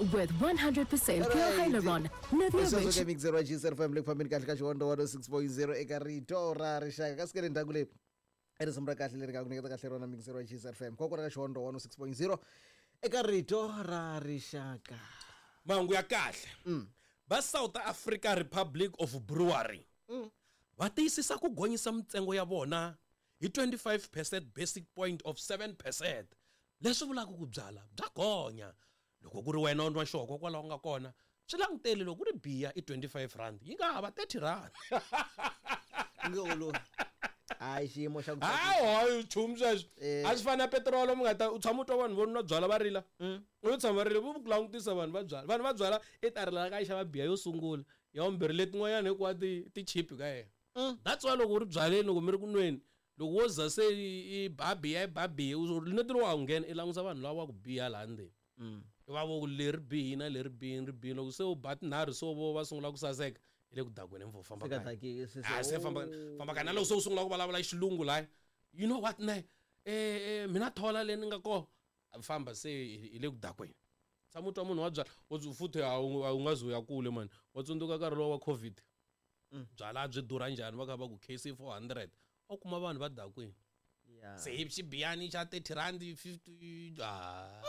With 100% pure hyaluron, Nivea sweswo rich ke mixer wa GSFM le ku fambeni kahle ka xihondo 106.0 eka rito ra rixaka kasi ke le ndzhaku leyi i risimu ra kahle leri nga ku nyiketa kahle rona mixer wa GSFM kokwana ka xihondo 106.0 eka rito ra rixaka. Mahungu ya kahle. Va South Africa Republic of Brewery va tiyisisa ku gonyisa mintsengo ya vona hi 25% basic point of 7%, leswi vulaka ku byala bya gonya. Loko ku ri wena u nwa xihoko kwalaho nga kona, swi languteli loko ku ri biya i 25 rand, yi nga ha va 30 rand. Nge olovi. Hayi, xiyimo xa ku Hayi, hayi, nchumu sweswo. Eh. A swi fani na petirolo, mi nga ta u tshama u twa vanhu vo nwa byala va rila. U tshama va rila, vo ku langutisa vanhu va byala. Vanhu va byala i ta rila ka yi xava biya yo sungula, ya vumbirhi, letin'wanyana hinkwato ti cheap ka yena. That's why loko u ri byaleni, loko mi ri ku nweni, loko wo za se i ba biya, i ba biya, u neti lowu a wu nghena, i langusa vanhu lava va ku biha laha ndzeni. Va vo ku leri bihi na leri bihi ri bihi, loko se u ba tinharhu se vo va sungula ku saseka, hi le ku dakweni mfo, famba Se ka kaya. daki- se- se- Ah, se famba, famba kaya. Na loko se u sungula ku vulavula xilungu laya, you know what ne, mina thola leyi ni nga kona, famba se hi le ku dakweni. Tshama u twa munhu wa byala u futhi a wu nga zi u ya kule mani, wa tsundzuka nkarhi lowu wa COVID, byala byi durha njhani, va kha va ku KC 400, u kuma vanhu va dakwini. Se hi xibiyani xa 30 rand 50. Ah.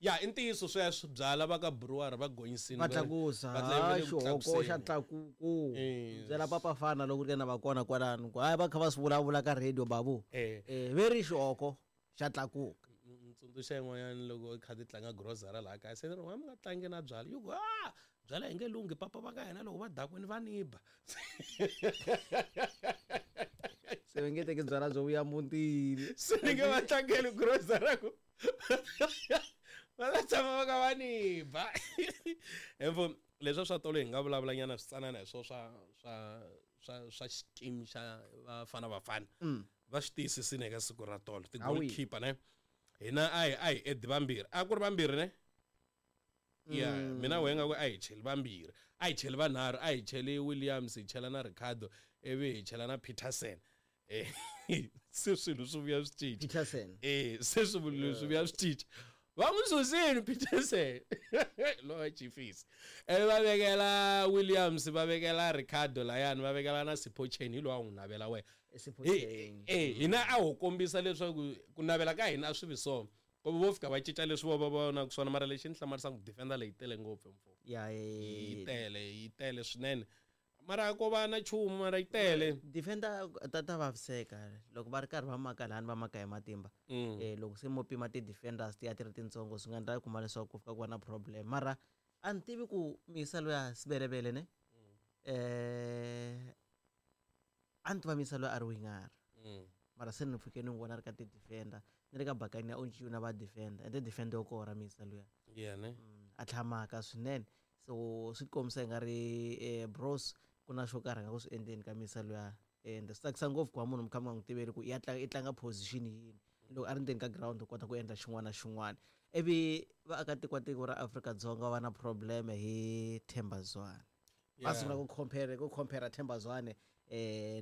Ya, i ntiyiso sweswo, byala va ka brewery va gonyisini, va tlakusa. Va tla- va le ku Xihoko xa tlakuseni. tlakuku. Yes. Byela papa fana loko ri ka na va kona kwalano ku hayi, va kha va swi vulavula ka radio babu. Ve ri xihoko xa tlakuka. Tsundzuxa yin'wanyana loko i kha ti tlanga grocery laha kaya, se ni ri mi nga tlangi na byala, yi ku a byala hi nge lunghi, papa va ka hina loko va dakwini va ni ba. Se va nge teki byala byo vuya mutini. Se ni nge va tlangeli grocery ku va ta tshama va kha va ni ba. Emfo leswi swa tolo hi nga vulavula nyana switsanana hi swo swa xikimi xa Bafana Bafana. Va swi tiyisisile eka siku ra tolo ti Hawi. goalkeeper ne, hina a hi edi vambirhi, a ku ri vambirhi ne. Ya, mina wehe nga ku a hi cheli vambirhi, a hi cheli vanharhu, a hi cheli Williams, hi chela na Ricardo, ivi hi chela na Peterson. Se swilo swi vuya swi cinca. Peterson. Se swilo swi vuya swi cinca, va n'wi susile Peterson lowa Chiefs, ivi va vekela Williams, va vekela Ricardo layani, va vekela na Sipho Chaine, hi lowa n'wi navela wena. Sipho Chaine. Hina a ho kombisa leswaku ku navela ka hina a swi vi so, ku vo fika va cinca leswi vo va vonaka swona. Mara lexi ni hlamarisaka, defender leyi tele ngopfu mfo. Ya, Yi tele, yi tele swinene, mara ko va na nchumu, mara yi tele. Defender ta vaviseka loko va ri karhi va maka lahani, va maka hi matimba. Loko se mo pima ti-defenders ti ya ti ri tintsongo, swi nga endla kuma leswaku ku fika ku va na problem. Mara a ni tivi ku misa loya Sebelebele ne, a ni tiva misa loyi a ri winger. Mara se ni pfuke ni n'wi vona a ri ka ti-defender, ni ri ka bakani ya Onchiu na va defender, ende defender yo kora misa luya. Yeah, ne? A tlhamaka swinene. So swi kombisa i nga ri bros ku na xo karhi nga ku swi endleni ka misa luya. Ende swi tsakisa ngopfu ku va munhu mi kha mi nga n'wi tiveli ku ya tlanga, i tlanga position yini, loko a ri ndzeni ka ground u kota ku endla xin'wana na xin'wana. Ivi vaakatiko va tiko ra Afrika-Dzonga va na problem hi Themba Zwane. Va sungula ku compare Themba Zwane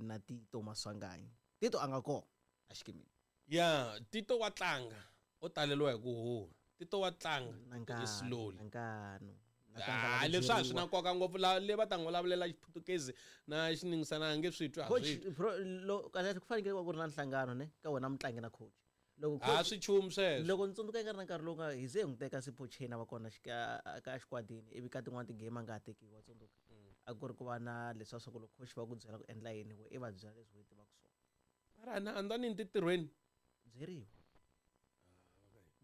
na Tito Maswanganyi. Tito a nga kona a xikimini. Ya, Tito wa tlanga, u taleriwa hi ku huha. Tito wa tlanga, Na nkanu, i slowly. na nkanu. Na Ah, kangala ku leswi a swi na byeriwa. nkoka ngopfu, la le va ta n'wi vulavulela Xiputukezi na Xiningisana, a nge swi twi, a Coach, swi twi. bro, lo, kahle ku fanekele ku va ku ri na nhlangano ne ka wena mutlangi na coach. Loko A coach swi chumu sweswo. Loko ni tsundzuka nga ri na nkarhi lowu nga hi ze hi n'wi teka Sipho Chaine a va kona ka xikwadini, ivi ka tin'wani ti-game a nga ha tekiwi, wa tsundzuka. A ku ri ku va na leswiya swa ku loko coach va ku byela ku endla yini, we i va byela leswi u tivaka swona. Mara na andza ni ntirhweni. Byeriwa.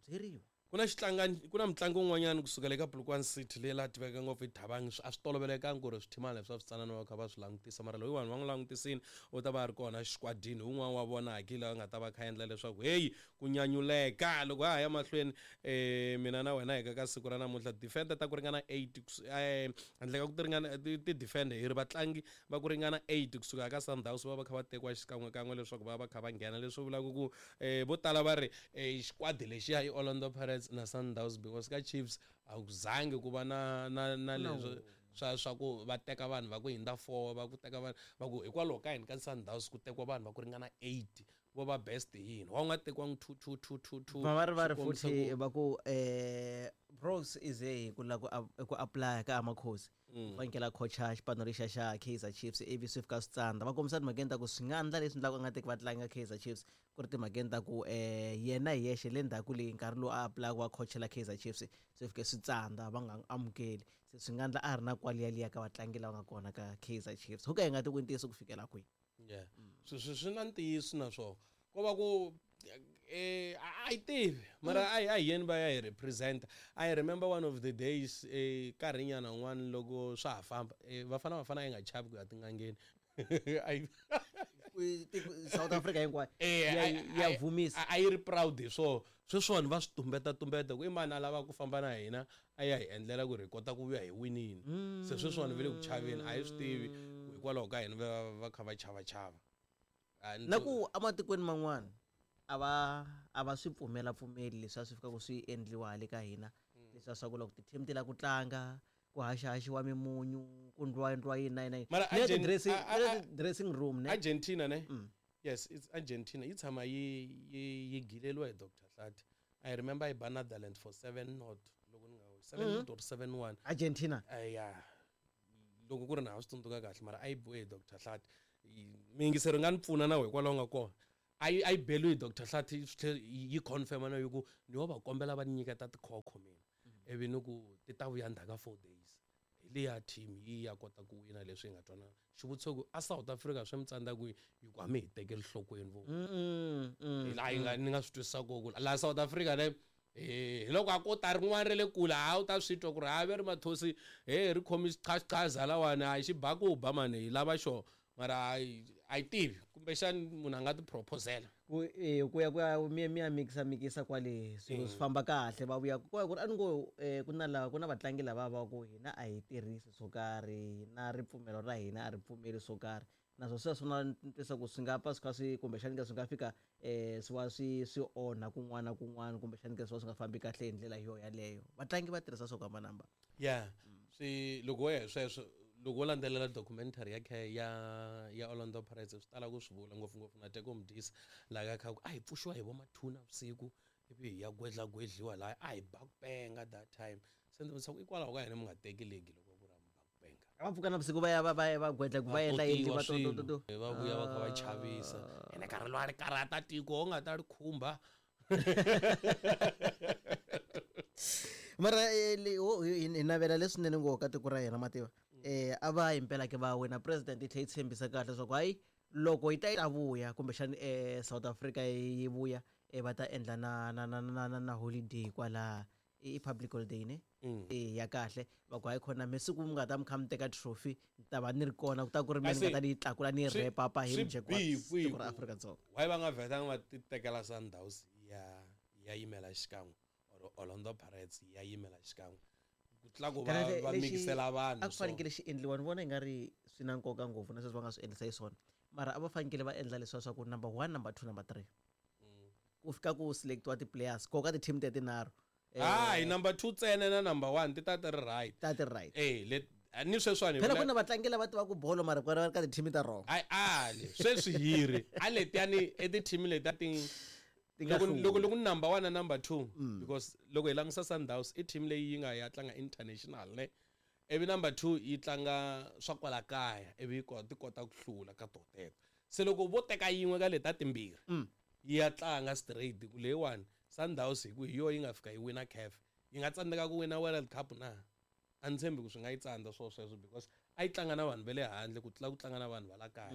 Byeriwa. Ku na xitlangani, ku na mutlangi un'wanyana kusukela eka Polokwane City leyi la tiveka ngopfu hi Thabang, a swi tolovelekanga ku ri swithimana leswi swa switsanana va kha va swi langutisa, mara loyi vanhu va n'wi langutisini u ta va a ri kona xikwadini, un'wana wa vona haki laha nga ta va kha endla leswaku heyi ku nyanyuleka. Loko ha ha ya mahlweni, mina na wena hi ka siku ra namuntlha, defender ta ku ringana 8 handle ka ku ti ringana ti defender hi ri vatlangi va ku ringana 8 kusuka ka Sundowns va va kha va tekiwa xikan'wekan'we leswaku va va kha va nghena, leswi vulaka ku vo tala va ri xikwadi lexiya i Orlando Pirates na Sundowns, because ka Chiefs a ku zangi ku va na No. leswi swa ku va teka vanhu va ku hindza 4, va ku teka vanhu va ku hikwalaho ka yini ka Sundowns ku tekiwa vanhu va ku ringana 8, vo va best hi yini, wa u nga tekiwangi 2 2 2 2 2. Va ri va ri Swi kombisa futhi ku va ku Bros is a ku lava ku apply ka Amakhosi. Fanekele a coacha xipano lexiya xa Kaizer Chiefs ivi swi fika swi tsandza. Va kombisa timhakeni ta ku swi nga endla leswi endlaka a nga teki vatlangi ka Kaizer Chiefs ku ri timhakeni ta ku yena hi yexe le ndzhaku leyi nkarhi lowu a apply ku va coachela Kaizer Chiefs swi fike swi tsandza va nga n'wi amukeli. Se swi nga endla a ri na kwaliyaliya ka vatlangi lava nga kona ka Kaizer Chiefs. Ho ka hi nga tivi ku i ntiyiso ku fikela kwihi. Yeah. Swi na ntiyiso na swona. Ko va ku a yi tivi mara a hi yeni va ya hi represent. I remember one of the days nkarhinyana wun'wana loko swa ha famba Bafana Bafana a yi nga chavi ku ya tin'angeni. South Africa hinkwayo ya vumisa. A yi ri proud hi swona. Sweswiwani va swi tumbetatumbeta ku i mani a lavaka ku famba na hina a ya hi endlela ku ri hi kota ku vuya hi winile. Se sweswiwani va le ku chaveni a hi swi tivi hikwalaho ka yini va kha va chavachava. Na ku ematikweni man'wana a va swi pfumela pfumeli leswi a swi fika ku swi endliwa hale ka hina leswi swa ku loko ti-team ti lava ku tlanga ku haxahaxiwa mimunyu ku ndliwa endliwa yini na yini na yini. Mara Ni le dressing room ne? Argentina ne? Yes, it's Argentina. Yi tshama yi gileriwa hi Dr. Hlathi. I remember yi ba Netherlands for 7-0 loko ni nga 7-0 or 7-1. Argentina? Yeah. Loko ku ri na ha swi tsundzuka kahle mara a yi biwe hi Dr. Hlathi. Miyingiseri nga ni pfuna na wehe kwalaho nga kona. A yi beliwe hi Dr. Hlathi swi tlhe yi confirm na ku ni yo va kombela va ni nyiketa tikhokho mina. Ivi ni ku ti ta vuya ndzhaku ka 4 days. Hi liya team yi ya kota ku wina leswi hi nga twanana. Xivutiso ku a South Africa swi mi tsandza kwihi hi ku a mi hi tekeli nhlokweni vo. Hi laha yi nga ni nga swi twisisa kona ku laha South Africa ne hi loko a ko ta rin'wana ra le kule a wu ta swi twa ku ri ha ve ri mathosi he ri khomi xiqhaxiqhaza lawani a xi ba ku ba mani hi lava xona mara a yi tivi kumbexani munhu a nga ti proposela. Ku ku ya ku ya mi ya mikisa mikisa kwale swilo swi famba kahle va vuya ku ri a ni ngo ku na lava ku na vatlangi lava va ku hina a hi tirhisi swo karhi na ripfumelo ra hina a ri pfumeli swo karhi naswona sweswo na ni twisa ku swi nga pfa swi kha swi kumbexani ke swi nga fika swi va swi onha kun'wana na kun'wana kumbexani ke swi va swi nga fambi kahle hi ndlela yo yaleyo vatlangi va tirhisa swo hambanahambana. Yeah. Swi loko wo ya hi sweswo loko wo landzelela documentary ya Orlando Pirates swi tala ku swi vula ngopfungopfu na Teko Modise laha ka kha ku a hi pfuxiwa hi vo mathuna vusiku ivi hi ya gwedlagwedliwa laha a hi ba ku penga that time. Se ndzi vutisa ku hikwalaho ka yini mi nga teki league loko ku ri a mi ba ku penga. A va pfuka navusiku va ya va gwedla ku va endla yini va to. Va vuya va kha va chavisa. Ene nkarhi lowu a ri karhata tiko u nga ta ri khumba. Mara hi navela leswinene ngopfu ka tiko ra hina mativa. A va himpela ke va wina president yi tlhe yi tshembisa kahle leswaku hayi loko yi ta yi ta vuya kumbexani South Africa yi vuya va ta endla na holiday kwala i public holiday ne? Ya kahle va ku hayi khona mi siku mi nga ta mi kha mi teka trophy ni ta va ni ri kona ku ta ku ri mina ni nga ta ni yi tlakula ni yi wrap up hi mujeko wa tiko ra Afrika-Dzonga. Why va nga vhetanga va ti tekela Sundowns ya yimela xikan'we or Orlando Pirates ya yimela xikan'we ku tlula ku va mikisela vanhu. A ku fanekele xi endliwa ni vona i nga ri swi na nkoka ngopfu na sweswi va nga swi endlisa xiswona mara a va fanekele va endla leswiya swa ku number 1 number 2 number 3 ku fika ku selectiwa ti-players ko ka ti-team te tinharhu. Hayi number 2 ntsena na number 1 ti ta ti ri right. Ta ti ri right. Ni sweswiwani phela ku na vatlangi lava tivaka bolo mara ku ri ka ti-team ta wrong. Hayi ali sweswi hi ri a letiyani i ti-team letiya ti loko number 1 na number 2 because loko hi langutisa Sundowns i team leyi yi nga ya tlanga international ne ivi number 2 yi tlanga swa kwala kaya ivi yi ti kota ku hlula ka to teto. Se loko vo teka yin'we ka leta timbirhi yi ya tlanga straight ku leyiwani Sundowns hi ku hi yo yi nga fika yi wina CAF yi nga tsandzeka ku wina World Cup na a ni tshembi ku swi nga yi tsandza swo sweswo because a yi tlanga na vanhu va le handle ku tlula ku tlanga na vanhu va la kaya.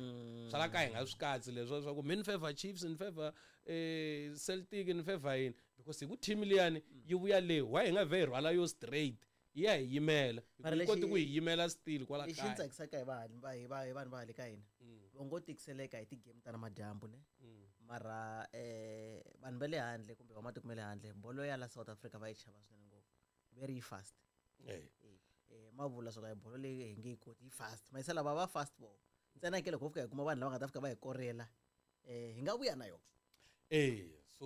Swa la kaya hi nga swi katsi leswo swa ku mi ni favor Chiefs ni favor Celtic ni favor yini because hi ku team liyani yi vuya le why hi nga vhe hi rhwala yo straight yi ya hi yimela yi koti ku hi yimela still kwala kaya. Lexi tsakisaka hi vanhu va le ka hina va ngo tikiseleka hi ti-game ta namadyambu ne mara vanhu va le handle kumbe va matiko ma le handle bolo ya la South Africa va yi chava swinene ngopfu very fast. Ma vula swa ku bolo leyi hi nge yi koti yi fast mayisela va va fast vo ntsena ke loko ho fika hi kuma vanhu lava nga ta fika va hi korela hi nga vuya na yona. So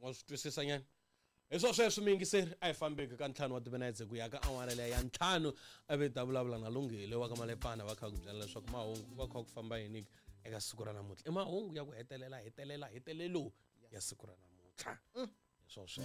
wa swi twisisa nyana hi swo sweswo miyingiseri a hi fambeki ka 5 wa timinetse ku ya ka awara leya ya 5 a vi ta vulavula na Lunghile wa ka Malepana va kha ku byela leswaku mahungu ku va kha ku famba yini eka siku ra namuntlha i mahungu ya ku hetelela hetelelo ya siku ra namuntlha hi swo sweswo.